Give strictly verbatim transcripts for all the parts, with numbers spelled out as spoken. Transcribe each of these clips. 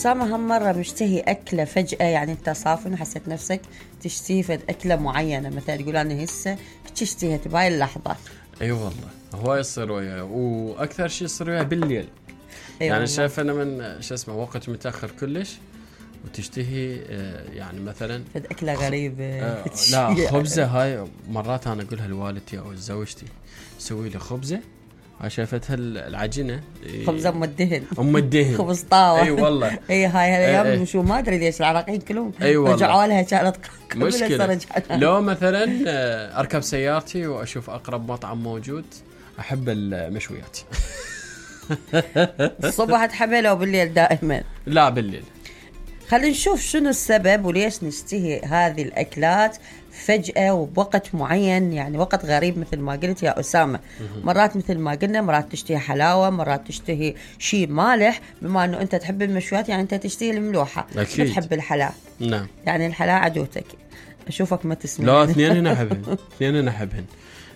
أسامة هم مرة مشتهي أكلة فجأة، يعني أنت صافن وحسيت نفسك تشتهي فد أكلة معينة، مثلا تقول أنا هسه اشتهيت بهاي اللحظة؟ أي أيوة والله هو يصير وياه، وأكثر شيء يصير وياه بالليل. أيوة يعني شايف أنا من شو اسمه وقت متأخر كلش وتشتهي يعني مثلا فد أكلة غريبة. آه لا خبزة هاي مرات أنا أقولها لوالدتي أو زوجتي سوي لي خبزة، شافتها العجينة خبزة أم الدهن أم الدهن خبز طاوة. أي والله أي هاي هالايام أي شو ما أدري ليش العراقيين كلهم أي رجعوا لها كانت مشكلة. لو مثلا أركب سيارتي وأشوف أقرب مطعم موجود أحب المشويات. الصبح تحبها لو بالليل دائما؟ لا بالليل. خلينا نشوف شنو السبب وليش نشتهي هذه الأكلات فجأة وبوقت معين، يعني وقت غريب مثل ما قلت يا أسامة. مرات مثل ما قلنا مرات تشتهي حلاوة، مرات تشتهي شيء مالح، بما أنه أنت تحب المشويات يعني أنت تشتهي الملوحة، ما تحب الحلا. نعم يعني الحلا عدوتك. أشوفك ما تسمع. لا اثنين هنا أحبهن اثنين هنا أحبهن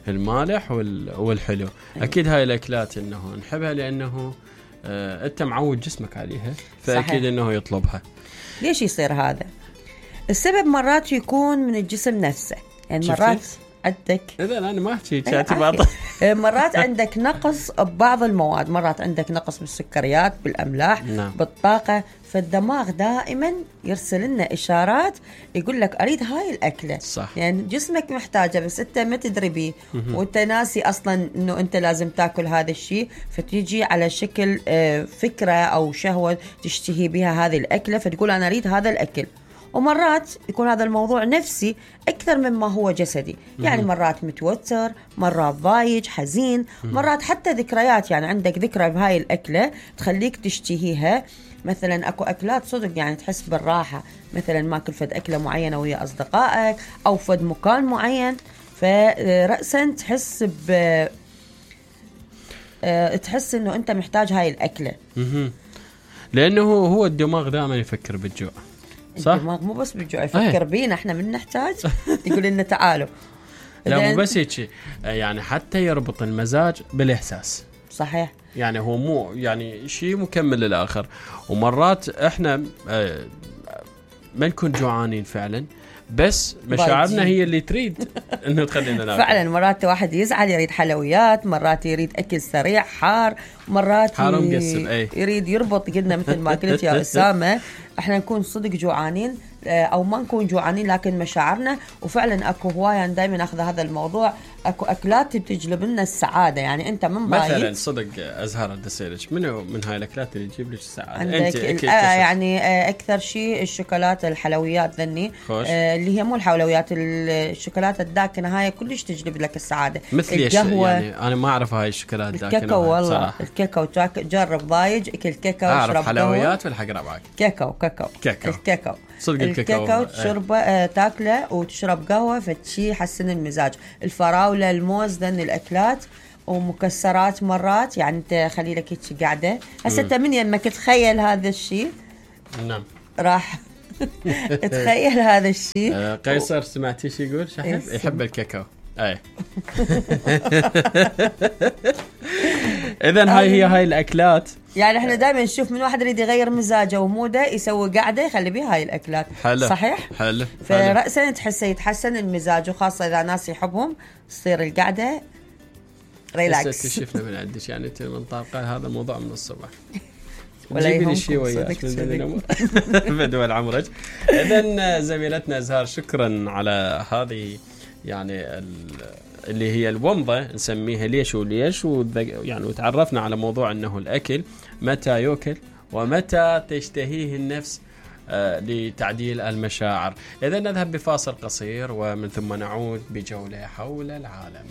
المالح والحلو. أكيد هاي الأكلات إنه نحبها لأنه آه أنت معود جسمك عليها، فأكيد صحيح. إنه يطلبها. ليش يصير هذا؟ السبب مرات يكون من الجسم نفسه، يعني مرات عندك إذا أنا ما أحكي كاتي بعض مرات عندك نقص ببعض المواد، مرات عندك نقص بالسكريات، بالأملاح، نعم. بالطاقة، فالدماغ دائما يرسل لنا إشارات يقول لك أريد هاي الأكلة. صح. يعني جسمك محتاجة بس أنت ما تدري بيه وأنت ناسي أصلا أنه أنت لازم تأكل هذا الشيء، فتيجي على شكل فكرة أو شهوة تشتهي بها هذه الأكلة، فتقول أنا أريد هذا الأكل. ومرات يكون هذا الموضوع نفسي أكثر مما هو جسدي، يعني مرات متوتر، مرات ضايج حزين، مرات حتى ذكريات، يعني عندك ذكرى بهاي الأكلة تخليك تشتهيها. مثلا أكو أكلات صدق يعني تحس بالراحة، مثلا ماكل فد أكلة معينة ويا أصدقائك أو فد مكان معين، فرأسا تحس ب تحس إنه أنت محتاج هاي الأكلة. لأنه هو الدماغ دائما يفكر بالجوع. صح؟ الدماغ مو بس بالجوع يفكر بينا احنا من نحتاج يقول لنا تعالوا. لا مو بس هيك، يعني حتى يربط المزاج بالإحساس. صحيح. يعني هو مو يعني شيء مكمل للآخر. ومرات احنا ما نكون جوعانين فعلا، بس مشاعرنا هي اللي تريد انه تخلينا ناكل. فعلا مرات واحد يزعل يريد حلويات، مرات يريد اكل سريع حار، مرات ي... يريد يربط. قلنا مثل ما قلت يا أسامة احنا نكون صدق جوعانين او ما نكون جوعانين، لكن مشاعرنا. وفعلا اكو هوايه يعني دائما اخذ هذا الموضوع، اكو اكلات بتجلب لنا السعاده. يعني انت من بايت مثلا صدق ازهر الدسيلج منو من هاي الاكلات اللي تجيب لك السعاده؟ انت آه يعني آه اكثر شيء الشوكولاته، الحلويات ذني آه اللي هي مو الحلويات، الشوكولاته الداكنه هاي كلش تجلب لك السعاده. مثل القهوه يعني انا ما اعرف هاي الشوكولاته الداكنه. الكاكاو والله الكاكاو جرب ضايج اكل كاكاو اشرب حلويات ولا حق ربعك. كاكاو كاكاو كاكاو الكاكاو صدق الكاكاو, الكاكاو تشربه آه تاكله وتشرب قهوه، فشي يحسن المزاج. الفراوله، الموز، ذن الاكلات ومكسرات مرات، يعني انت خلي لك هيك قاعده هسه انت من يمك تخيل هذا الشيء. نعم راح تخيل هذا الشيء. آه قيصر سمعتي شو يقول؟ شحب يحب الكاكاو. اي اذا هاي هي هاي الاكلات. يعني احنا دائما نشوف من واحد يريد يغير مزاجه وموده يسوي قاعده يخلي بيها هاي الاكلات. حلو. صحيح. حلو. فرأسا تحسه يتحسن المزاج، وخاصه اذا ناس يحبهم تصير القعده ريلاكس. شفنا من عندك يعني انت من طاقه هذا الموضوع من الصبح ولا جيبي لي شيء وياك بدول عمرك. اذا زميلتنا أزهار شكرا على هذه يعني اللي هي الومضة نسميها ليش وليش، يعني وتعرفنا على موضوع أنه الأكل متى يأكل ومتى تشتهيه النفس آه لتعديل المشاعر. إذا نذهب بفاصل قصير ومن ثم نعود بجولة حول العالم.